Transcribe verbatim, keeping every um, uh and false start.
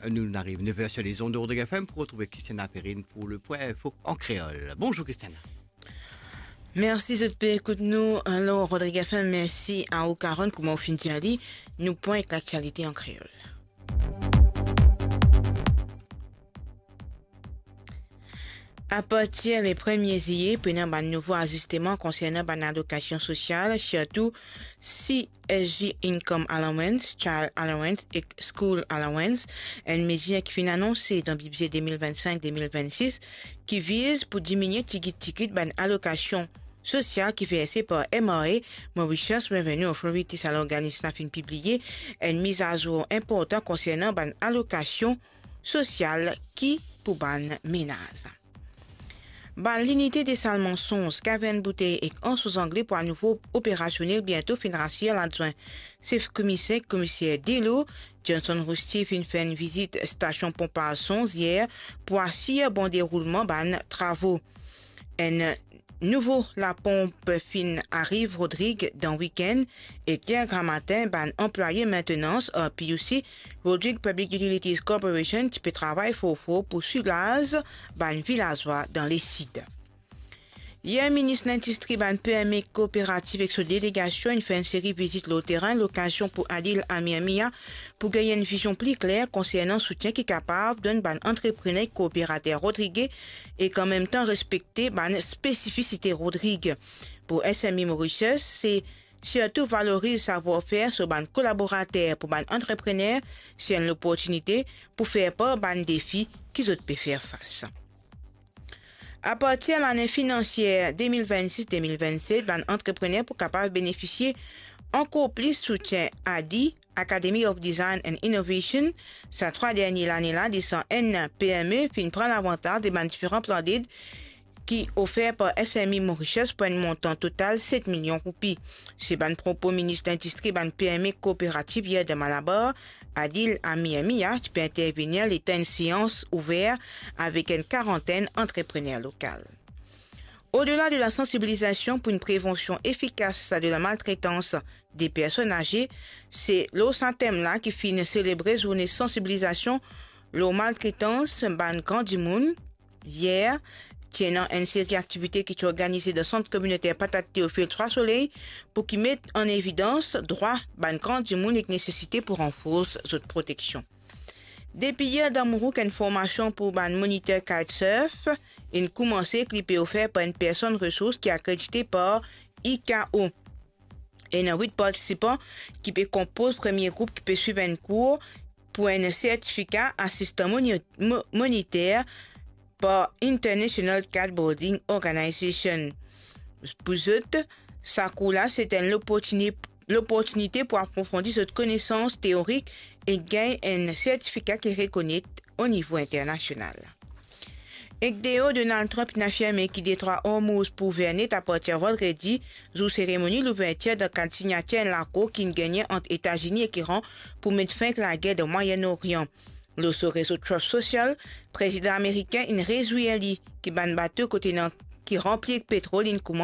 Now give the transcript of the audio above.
Nou, nou ariv nev er sur les ondes de Rodrigue F M pou retrouver Christiana Perrine pour le point info en créole. Bonjour Christiana. Mersi zot pe ekout nou. Alor, Rodrigue F M, mersi a ou, Karen. Kouma ou finn dir li, nou pran ek laktialite an kreol. Apartir le premie ziye, pou ena bann nouvo azisteman konsernan bann alokasion sosial, sirtou C S G Income Allowance, Child Allowance ek School Allowance, enn mezir ki finn anonse dan bidze de mil vennsenk de mil vennsis, ki viz pou diminie tigit tigit bann alokasion sosial ki verse par M R A, Mauritius Revenue Authority. Sa lorganism la finn pibliye enn mizazour inportan konsernan bann alokasion sosial ki pou bann menaz. Bann linite desal mansonz, kavern boutey ek anso zangle pou anouvo operasionel biento, finn rasir ladwin sef komiser, komiser Delo. Johnson Roustier finn fer enn vizit stasion ponpaz Sonz yer pou asir bon deroulman bann travo. Enn nouvo laponp finn ariv Rodrig dan wikenn, e yer gramatin bann anplwaye maintenans ar P U C, Rodrig Public Utilities Corporation, ti pe travay for for pou soulaz bann vilazwa dan lesid. Yer, minis lindistri, bann P M E, kooperativ ek so delegasion inn fer enn seri vizit lor terin, lokazion pou Adil Amir Mia pou gagn enn vizion pli kler konsernan soutien ki kapav donn bann antreprener ek kooperater Rodrig e an mem tan respekte bann spesifisite Rodrig. Pou S M E Mauritius, se sirtou valoriz savwar-fer so bann kolaborater. Pou bann antreprener, se enn loportinite pou fer par bann defi ki zot pe fer fas. Apartir lane finansie de mil vennsis de mil vennset, bann antreprener pou kapav benefisie ankor plis soutien ADI, Academy of Design and Innovation. Sa trwa dernie lane la, de san enn P M E finn pran lavantaz de bann diferan plan ded ki ofer par S M E Mauritius pou enn montan total set milion roupi. Se bann propo minis lindistri bann P M E kooperativ yer dan Malabar, Adil Amir Mia, ti pe intervenir letan enn seans ouver avek enn karantenn antreprener lokal. Odela de la sansibilizasion pou enn prevansion efikas de la maltretans de personn aze, se lor sa tem la ki finn selebre zourne sansibilizasion lor maltretans bann gran dimoun. Yer, ti ena enn seri aktivite ki ti organize dan Sant Kominiter Patat Teofil Trwa Soley pou ki met an evidans drwa bann gran dimoun ek nesesite pou ranfors zot proteksion. Depi yer, dan Mourouk, enn formasion pou bann moniter kitesurf inn koumanse ki li pe ofer par enn personn resours ki akredite par I K O. Ena wit partisipan ki pe konpoz premie group ki pe swiv enn kour pou enn sertifika asistan moni-, mo-, moniter par International Kiteboarding Organization. Pou zot, sa kour la, se enn loportini-, loportinite pou aprofondi zot konesans teorik e gagn enn sertifika ki rekonet o nivo internasional. Ek deor, Donald Trump inn afirme ki Detrwa Ormouz pou ouver net apartir vandredi, zour seremoni louvertir dan kad signatir enn lakor ki'nn gagne ant Etazini ek Iran pou met fin ek lager dan Mwayenn Orian. Lor so rezo Truth Social, prezidan amerikin inn rezwir li ki bann bato kot ena ki ranpli ek petrol inn koumans